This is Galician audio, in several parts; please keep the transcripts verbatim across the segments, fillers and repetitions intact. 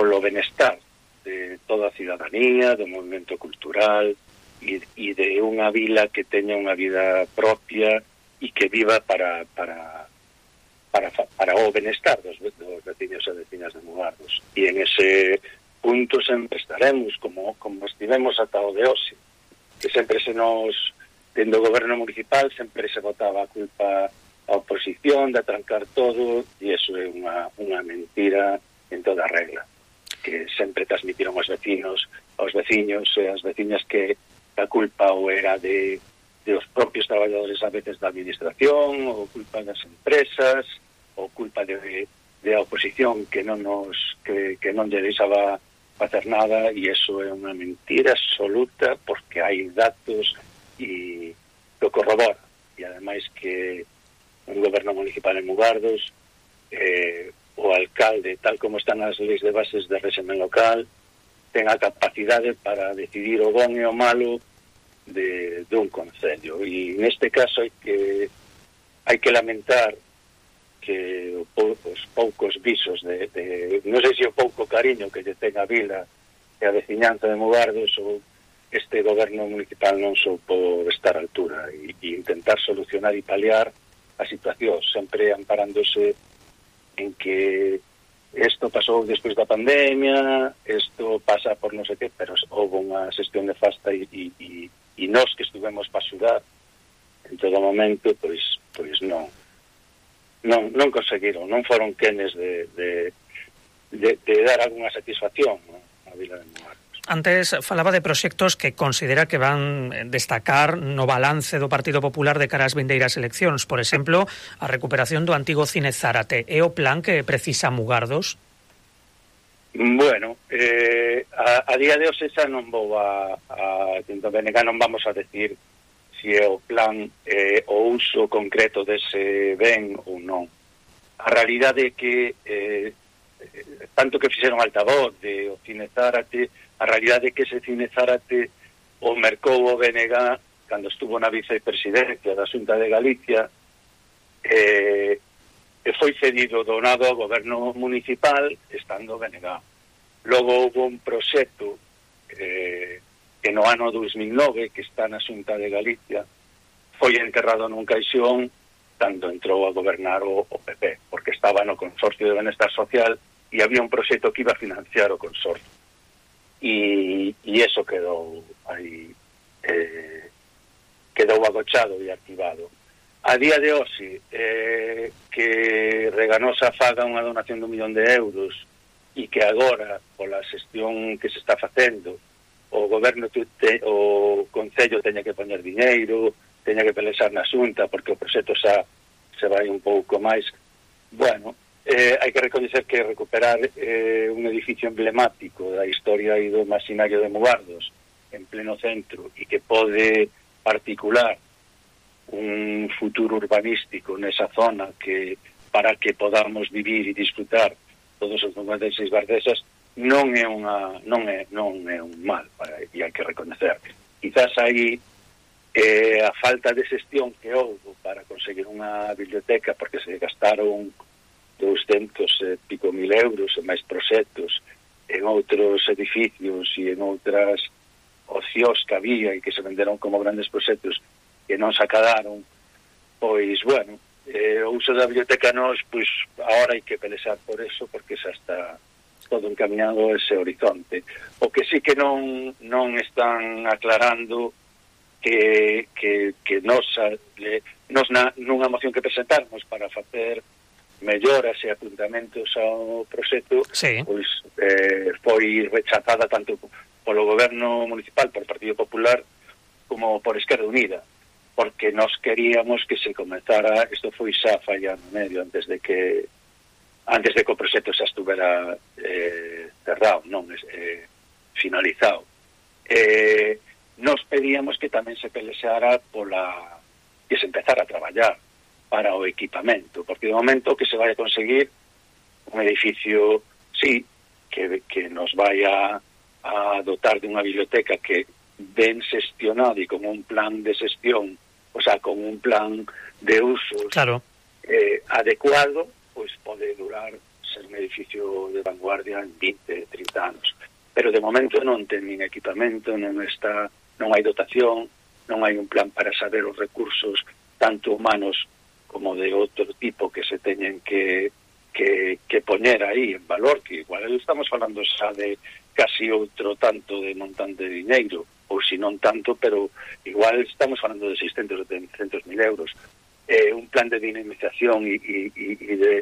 polo benestar de toda a cidadanía, do movimento cultural e, e de unha vila que teña unha vida propia e que viva para para para, para o benestar dos, dos veciños e veciñas de Mugardos. E en ese punto sempre estaremos, como, como estivemos ata o de hoxe, que sempre se nos, dentro do goberno municipal, sempre se botaba a culpa a oposición de atrancar todo, e iso é unha, unha mentira en toda regla, que sempre transmitiron os vecinos, aos veciños e as veciñas que a culpa ou era de, de os propios traballadores a veces da administración, ou culpa das empresas, ou culpa de, de a oposición que non nos que, que non lle deixaba facer nada, e iso é unha mentira absoluta, porque hai datos e lo corrobora, e ademais que un goberno municipal en Mugardos, eh, o alcalde, tal como están as leis de bases de régimen local, ten a capacidade para decidir o bon e o malo de, de un concello. E neste caso hai que hai que lamentar que os poucos visos de, de non sei se o pouco cariño que lle ten a vila e a veciñanza de Mugardos, ou este goberno municipal non soupo estar á altura e, e intentar solucionar e paliar a situación, sempre amparándose en que isto pasou despois da pandemia, isto pasa por non sei que, pero houve unha xestión nefasta e, e, e, e nós que estuvemos para axudar en todo momento, pois pois non non, non conseguiron, non foron quenes de, de, de, de dar algunha satisfacción, ¿no?, a vila de Mugardos. Antes falaba de proxectos que considera que van destacar no balance do Partido Popular de cara ás vindeiras eleccións. Por exemplo, a recuperación do antigo Cine Zárate. É o plan que precisa Mugardos? Bueno, eh, a, a día de hoxe xa non vou a, a Tinto B N G, non vamos a decir se é o plan eh, o uso concreto dese ben ou non. A realidade é que eh, tanto que fixeron altavoz de o Cine Zárate, a realidade é que ese Cine Zárate o mercou o B N G cando estuvo na vicepresidencia da Xunta de Galicia, eh, e foi cedido, donado ao goberno municipal estando o B N G. Logo houve un proxecto eh, que no ano dos mil nove, que está na Xunta de Galicia, foi enterrado nun caixón cando entrou a gobernar o, o P P, porque estaba no Consorcio de Benestar Social e había un proxecto que iba a financiar o consorcio. E, e eso quedou aí, eh, quedou agochado e activado. A día de hoxe, eh, que Reganosa faga unha donación de un millón de euros e que agora, pola xestión que se está facendo, o goberno te, o concello teña que poñer diñeiro, teña que pelexar na Xunta porque o proxecto xa se vai un pouco máis. Bueno, eh, hai que recoñecer que recuperar eh, un edificio emblemático da historia e do imaginario de Mugardos en pleno centro e que pode articular un futuro urbanístico nesa zona que para que podamos vivir e disfrutar todos os cincuenta e seis bardesas non é unha non é non é un mal, para, e hai que recoñecer. Quizás aí eh, a falta de xestión que houve para conseguir unha biblioteca, porque se gastaron douscentos e pico mil euros e máis proxectos en outros edificios e en outras ocios que había e que se venderon como grandes proxectos que non se acadaron, pois, bueno, eh, o uso da biblioteca nos, pois, agora hai que pelexar por eso, porque xa está todo encaminado ese horizonte. O que sí que non non están aclarando que, que, que nos, le, nos na, nunha moción que presentarmos para facer melloras e apuntamentos ao proxecto, sí, pois eh, foi rechazada tanto polo goberno municipal, por Partido Popular, como por Esquerda Unida, porque nos queríamos que se comezara, isto foi xa falla no medio antes de que antes de que o proxecto xa estuvera eh, cerrado, non eh, finalizado. Eh, nos pedíamos que tamén se pelexara pola que se empezara a traballar para o equipamento, porque de momento que se vai a conseguir un edificio, sí, que, que nos vai a, a dotar de unha biblioteca que ben xestionada e con un plan de xestión, o sea, con un plan de usos, claro, eh, adecuado, pois pode durar ser un edificio de vanguardia en veinte, trinta trinta anos. Pero de momento non ten nin equipamento, non está, non hai dotación, non hai un plan para saber os recursos tanto humanos como de outro tipo que se teñen que, que, que poñer aí en valor, que igual estamos falando xa de casi outro tanto de montante de diñeiro, ou si non tanto, pero igual estamos falando de seiscentos ou setecentos mil euros. Eh, un plan de dinamización e, e, e de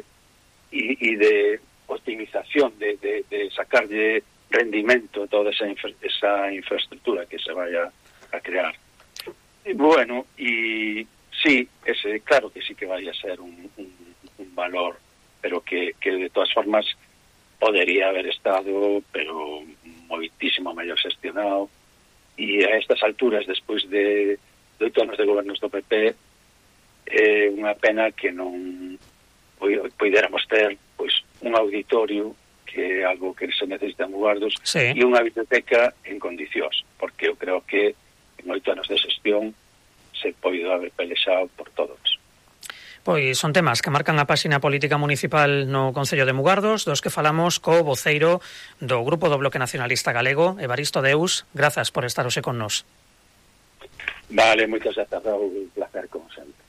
e, e de optimización de, de, de sacarlle rendimento a toda esa, infra, esa infraestructura que se vaya a crear. Y bueno, y sí, ese, claro que sí que vaya a ser un, un, un valor, pero que, que de todas formas podería haber estado, pero moitísimo mellor xestionado, e a estas alturas, despois de, de oito anos de gobernos do P P, é unha pena que non poidéramos ter pois un auditorio, que é algo que se necesita en Mugardos, sí, e unha biblioteca en condicións, porque eu creo que en oito anos de xestión se poido haber pelexado por todos. Pois son temas que marcan a páxina política municipal no Concello de Mugardos, dos que falamos co voceiro do Grupo do Bloque Nacionalista Galego, Evaristo Deus. Grazas por estar hoxe con nós. Vale, moitas grazas, Raúl, un placer como sempre.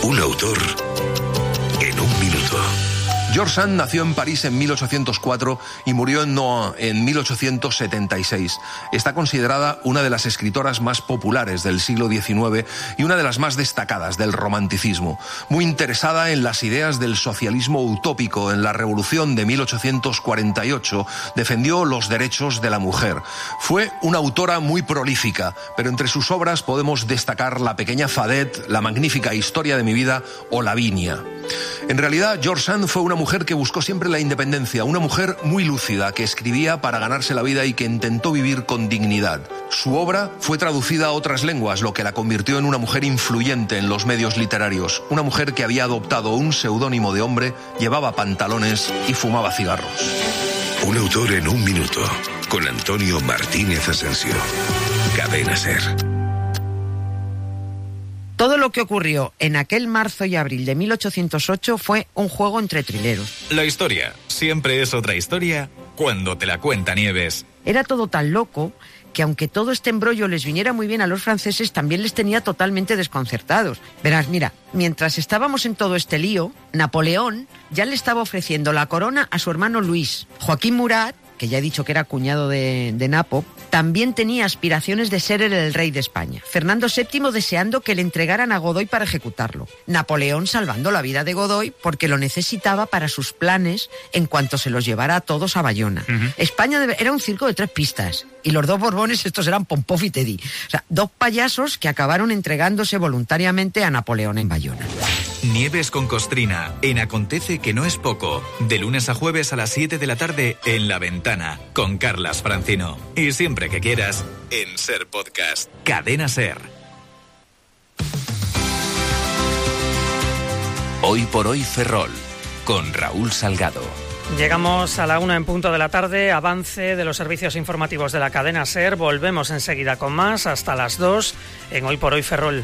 Un autor en un minuto. George Sand nació en París en mil ochocientos cuatro y murió en Nohant en mil ochocientos setenta y seis. Está considerada una de las escritoras más populares del siglo diecinueve y una de las más destacadas del romanticismo. Muy interesada en las ideas del socialismo utópico, en la Revolución de mil ochocientos cuarenta y ocho, defendió los derechos de la mujer. Fue una autora muy prolífica, pero entre sus obras podemos destacar La pequeña Fadet, La magnífica historia de mi vida o Lavinia. En realidad, George Sand fue una mujer que buscó siempre la independencia, una mujer muy lúcida que escribía para ganarse la vida y que intentó vivir con dignidad. Su obra fue traducida a otras lenguas, lo que la convirtió en una mujer influyente en los medios literarios, una mujer que había adoptado un seudónimo de hombre, llevaba pantalones y fumaba cigarros. Un autor en un minuto, con Antonio Martínez Asensio. Cadena SER. Todo lo que ocurrió en aquel marzo y abril de mil ochocientos ocho fue un juego entre trileros. La historia siempre es otra historia cuando te la cuenta Nieves. Era todo tan loco que aunque todo este embrollo les viniera muy bien a los franceses, también les tenía totalmente desconcertados. Verás, mira, mientras estábamos en todo este lío, Napoleón ya le estaba ofreciendo la corona a su hermano Luis. Joaquín Murat, que ya he dicho que era cuñado de, de Napo, también tenía aspiraciones de ser el, el rey de España. Fernando séptimo deseando que le entregaran a Godoy para ejecutarlo. Napoleón salvando la vida de Godoy porque lo necesitaba para sus planes en cuanto se los llevara a todos a Bayona. Uh-huh. España debe, era un circo de tres pistas y los dos Borbones estos eran Pompov y Teddy. O sea, dos payasos que acabaron entregándose voluntariamente a Napoleón en Bayona. Nieves con Costrina, en Acontece que no es poco, de lunes a jueves a las siete de la tarde en La Ventana, con Carlas Francino. Y siempre que quieras, en SER Podcast. Cadena SER. Hoy por hoy Ferrol, con Raúl Salgado. Llegamos a la una en punto de la tarde, avance de los servicios informativos de la cadena SER. Volvemos enseguida con más, hasta las dos, en Hoy por hoy Ferrol.